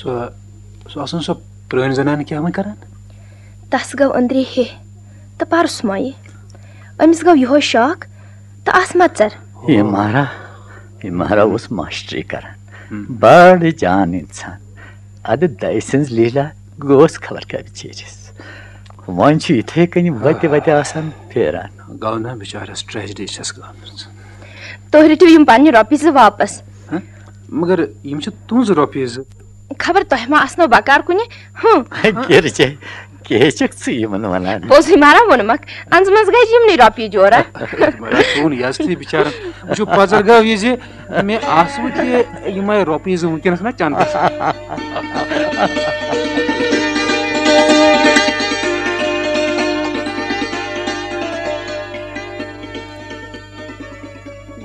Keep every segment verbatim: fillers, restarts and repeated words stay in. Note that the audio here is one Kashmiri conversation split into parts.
سۄ، سۄ آسان سۄ پرٛٲنۍ زنانہٕ کیٛاہ وۄنۍ کران؟ تس گوٚو أنٛدری ہے تہٕ پرُس مۄیہِ۔ أمِس گوٚو یِہوے شوق تہٕ آس مژر۔ یہِ مارا، یہِ مارا اوس ماسٹری کران۔ ہم۔ بڑٕ جان انسان۔ ادٕ دَیہِ سٕنٛز لیٖلا گوس خبر کیٛاہ بِچٲرِس۔ وۄنۍ چھُ یِتھے کٔنۍ وتہِ وتہِ آسان پھیران۔ گوٚو نا بِچارس ٹریجڈی چھس گٔمٕژ۔ تُہۍ رٔٹِو یِم پننہِ رۄپیہِ زٕ واپس۔ ہہ؟ مگر یِم چھِ تُہنٛز رۄپیہِ زٕ۔ خبر تۄہہِ ما آسنو بکار کُنہِ؟ ہُم۔ کیٛاہ چھے، کیٛاہ چھکھ ژٕ یِمن ونان؟ پوٚزُے مارا ووٚنمکھ، انٛزٕ منٛز گٔے یِمنٕے رۄپیہِ جورا۔ مگر سون یزتھٕے بِچارن، وٕچھِو، پزر گوٚو یہِ زِ مےٚ آسہٕ وٕ تہِ یِمے رۄپیہِ زٕ وٕنکیٚنس نا چندس۔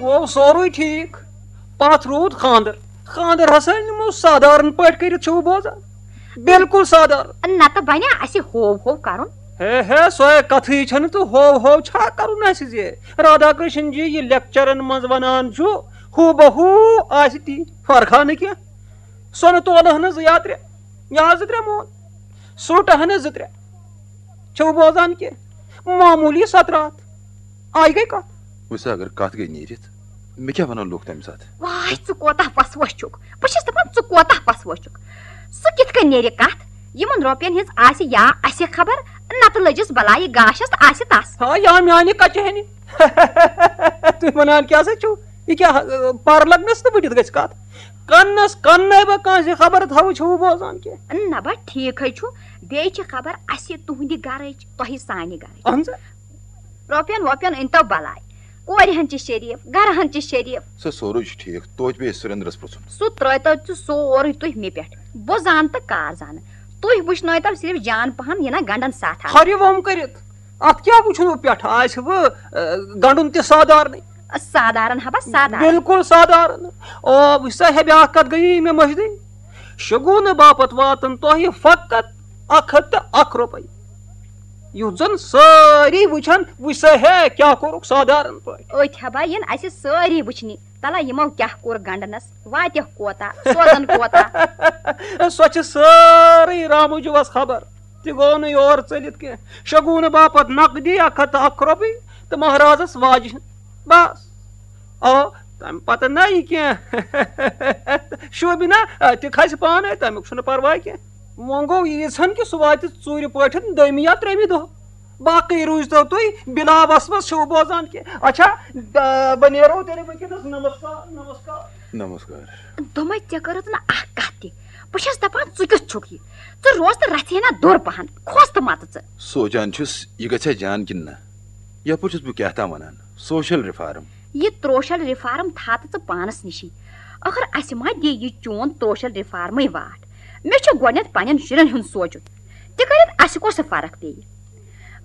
گوٚو سورُے ٹھیٖک، پتھ روٗد خانٛدر۔ خانٛدر ہسا نِمو سادارن پٲٹھۍ کٔرِتھ، چھِو بوزان؟ بالکل سادارن۔ نتہٕ بنیا اسہِ ہوو ہوو کرُن۔ ہے ہے، سۄے کتھٕے چھنہٕ تہٕ ہوو ہوو چھا کرُن اسہِ زِ؟ رادھا کرشن جی یہِ لیکچرن منٛز ونان چھُ، ہو بہ ہو آسہِ تی، فرقا نہٕ کینٛہہ۔ سۄنہٕ تولہٕ ہنہٕ زٕ یا ترٛےٚ، یا زٕ ترٛےٚ مون، سوٹہٕ ہنہٕ زٕ ترٛےٚ۔ چھِو بوزان کینٛہہ؟ معموٗلی ستراتھ۔ آیہِ گٔے کتھ۔ وٕچھ سا، اگر کتھ گٔے نیٖرِتھ، مےٚ کیٛاہ ونن لوٗکھ تمہِ ساتہٕ؟ واے، ژٕ کوتاہ پسوش چھُکھ۔ بہٕ چھَس دپان، ژٕ کوتاہ پسوش چھُکھ۔ سُہ کِتھ کٔنۍ نیرِ کتھ؟ یِمن رۄپین ہٕنٛز آسہِ یا اسہِ خبر، نتہٕ لٔجِس بلایہِ گاشس تہٕ آسہِ تس۔ ہا، یا میانہِ کچہِ ہنہِ۔ تُہۍ ونان کیٛاہ سا چھِو؟ یہِ کیٛاہ، ٲ، پر لگنس تہٕ بٔڈِتھ گژھِ کتھ؟ کنس کننے بہٕ کٲنٛسہِ خبر تھاوٕ، چھِو بوزان کینٛہہ؟ نہ با، ٹھیٖکھٕے چھُ۔ بیٚیہِ چھِ خبر اسہِ تُہنٛدِ گرٕچ، تۄہہِ سانہِ گرٕچ۔ اہن سا۔ رۄپین وۄپین أنۍتو بلاے۔ کورِ ہن چھِ شریف، گرٕ ہن چھِ شریف۔ سُہ سورُے چھُ ٹھیٖک، توتہِ پیٚیہِ سُریندرس پرٛژھُن۔ سُہ ترٛٲوتو ژٕ سورُے تُہۍ مےٚ پٮ۪ٹھ۔ بہٕ زانہٕ تہٕ کار زانہٕ۔ تُہۍ وٕچھنٲوتو صرف جان پہن، یہِ نہ گنڈن ساتھ آسہِ۔ ہرِ ووم کٔرِتھ۔ اتھ کیٛاہ وٕچھُن وۄنۍ پٮ۪ٹھٕ؟ آسہِ وۄنۍ، ٲ، گنڈُن تہِ سادارنٕے۔ سادارن ہبا سادارن۔ بالکل سادارن۔ او، وٕچھ سا، ہے، بیٛاکھ کتھ گٔیی مےٚ مٔشدٕے۔ شگوٗنہٕ باپتھ واتن تۄہہِ فقط اکھ ہتھ تہٕ اکھ رۄپے۔ یُتھ زن سٲری وٕچھن، وٕچھ سا ہے، کیٛاہ کوٚرُکھ سادارن پٲٹھۍ۔ أتھۍ ہبا یِن اسہِ سٲری وٕچھنہِ، تلا یِمو کیٛاہ کوٚر گنڈنس، واتیکھ کوتاہ، سوزن کوتاہ۔ سۄ چھِ سٲرٕے رامہٕ جُوس خبر، تہِ گوٚو نہٕ یور ژٔلِتھ کینٛہہ۔ شگوٗنہٕ باپتھ نقدی اکھ ہتھ تہٕ اکھ رۄپے تہٕ مہرازس واجہِ ہُنٛد۔ بس۔ آ، تمہِ پتہٕ نہ یہِ کینٛہہ۔ شوٗبہِ نا، آ، تہِ کھسہِ پانے، تمیُک چھُنہٕ پرواے کینٛہہ۔ وۄنۍ گوٚو ییٖژ ہن کہِ سُہ واتہِ ژوٗرِ پٲٹھۍ دوٚیمہِ یا ترٛیٚیمہِ دۄہ۔ باقٕے روٗزتو تُہۍ بِلا وسوس، چھِو بوزان کہِ۔ اچھا، آ، بہٕ نیرو تیٚلہِ وٕنکیٚنس۔ نمسکار، نمسکار۔ نمسکار۔ دوٚپمَے، ژےٚ کٔرٕتھ نہٕ اکھ کتھ تہِ۔ بہٕ چھَس دپان، ژٕ کیُتھ چھُکھ یہِ؟ ژٕ روز تہٕ رژھِ ہنا دوٚر پہن، کھوژ تہٕ متہٕ ژٕ۔ سونٛچان چھُس، یہِ گژھِ ہا جان کِنہٕ نہ؟ یپٲرۍ چھُس بہٕ کیٛاہ تام ونان، سوشل ریفارم۔ یہِ تروشل ریفارم تھاو تہٕ ژٕ پانس نِشی۔ ٲخٕر اسہِ ما دِ یہِ چون تروشل ریفارمٕے واٹھ؟ مےٚ چھُ گۄڈٕنٮ۪تھ پننٮ۪ن شُرٮ۪ن ہُنٛد سونٛچُن۔ تِکیٛازِ اسہِ کۄس فرق پیٚیہِ؟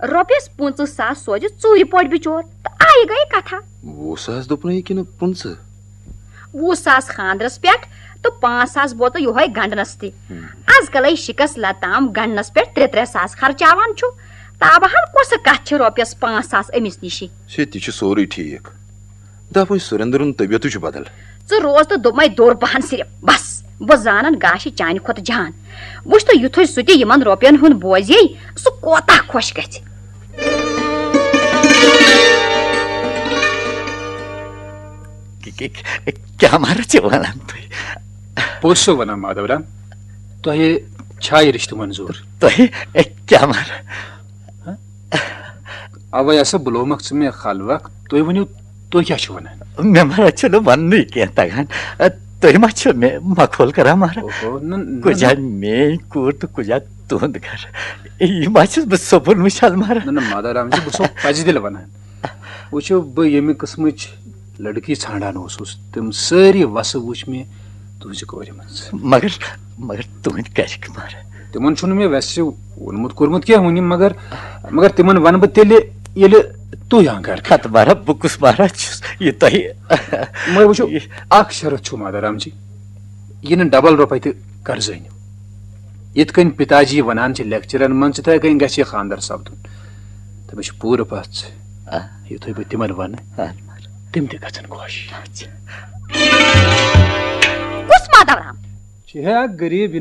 رۄپیس پٕنٛژٕہ ساس سوزِ ژوٗرِ پٲٹھۍ بِچور تہٕ آیہِ گٔیہِ کتھا۔ وُہ ساس دوٚپنَے کِنہٕ پٕنٛژٕہ؟ وُہ ساس خانٛدرس پٮ۪ٹھ تہٕ پانٛژھ ساس بوتل یِہوے گنڈنس تہِ۔ ہم۔ از کلے شِکس لتام گنڈنس پٮ۪ٹھ ترٛےٚ ترٛےٚ ساس خرچاوان چھُ۔ تابہٕ ہن کۄسہٕ کتھ چھِ رۄپیس پانٛژھ ساس أمِس نِشی؟ سے تہِ چھُ سورُے ٹھیٖک۔ دپُن سُریندرُن طبیعتٕے چھُ بدل۔ ژٕ روز تہٕ دوٚپمَے دوٚر پہن صرف۔ بس، بہٕ زانن گاشہِ چانہِ کھۄتہٕ جان۔ وٕچھ تہٕ یُتھُے سُہ تہِ یِمن رۄپین ہُنٛد بوزے، سُہ کوتاہ خۄش گژھِ۔ کہ-، کہ-، کیٛاہ مارا چھِ ونان تُہۍ؟ پوٚز چھُسو ونان مادو رام، تۄہہِ چھا یہِ رشتہٕ منظوٗر؟ تۄہہِ کیٛاہ مارا؟ اوے ہسا بُلومکھ ژٕ مےٚ خلوق، تُہۍ ؤنِو، تُہۍ کیٛاہ چھِو ونان؟ مےٚ مارا چھُنہٕ وننُے کینٛہہ تگان۔ تُہۍ ما چھِو مےٚ مخول کران مارا؟ اوہو، نہ، نہ، کُجا نہ۔ میٲنۍ کوٗر تہٕ کُجا تُہُنٛد گرٕ؟ یہِ ما چھُس بہٕ سپُن وٕچھان مارا؟ نہ، نہ، مادو رام جی، بہٕ چھُسو پزِ دِل ونان۔ وٕچھِو، بہٕ ییٚمہِ قٕسمٕچ لڑکی ژھانڈان اوسُس، تِم سٲری وسہٕ وٕچھ مےٚ تُہنٛزِ کورِ منٛز۔ مگر، مگر تُہنٛدۍ گرِکۍ مارا۔ تِمن چھُنہٕ مےٚ ویسے ووٚنمُت کوٚرمُت کینٛہہ وُنہِ، مگر، مگر تِمن ونہٕ بہٕ تیٚلہِ، ییٚلہِ تُہۍ آنکار کٔرِو۔ ہتہٕ مارا، بہٕ کُس مارا چھُس یہِ تۄہہِ؟ مگر وٕچھِو، یہِ اکھ شرط چھُ مادارام جی، یہِ نہٕ ڈبل رۄپے تہِ قرضہٕ أنِو۔ یِتھ کٔنۍ پِتا جی ونان چھِ لیکچرن منٛز، تِتھے کٔنۍ گژھِ یہِ خانٛدر سپدُن۔ تہٕ مےٚ چھِ پوٗرٕ پژھ، آ۔ یُتھُے بہٕ تِمن ونہٕ، آ، مگر تِم تہِ گژھن خۄش۔ اچھا۔ کُس مادارام؟ چھِ ہے اکھ غریٖب